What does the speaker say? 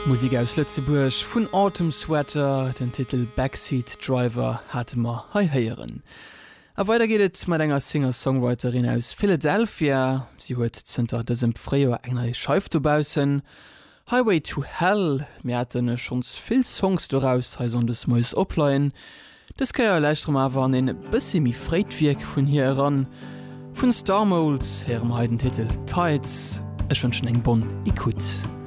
Musek aus Lëtzebuerg vun Autumn Sweater, den Titel Backseat Driver hate mer hei héieren. A weider geet et mat enger Singer-Songwriterin aus Philadelphia. Si huet zënter dësem Fréijoer eng nei Scheif dobaussen, Highway to Hell. Mir hate schonns vill Songs doraus hei sonndes moies opleien. Dës Kéier lauschtere mer awer an een bëssi méi fréit Wierk vun hir eran. Vun Star Moles héiere mer hei den Titel Tides. Ech wënschen eng bonne Ecoute.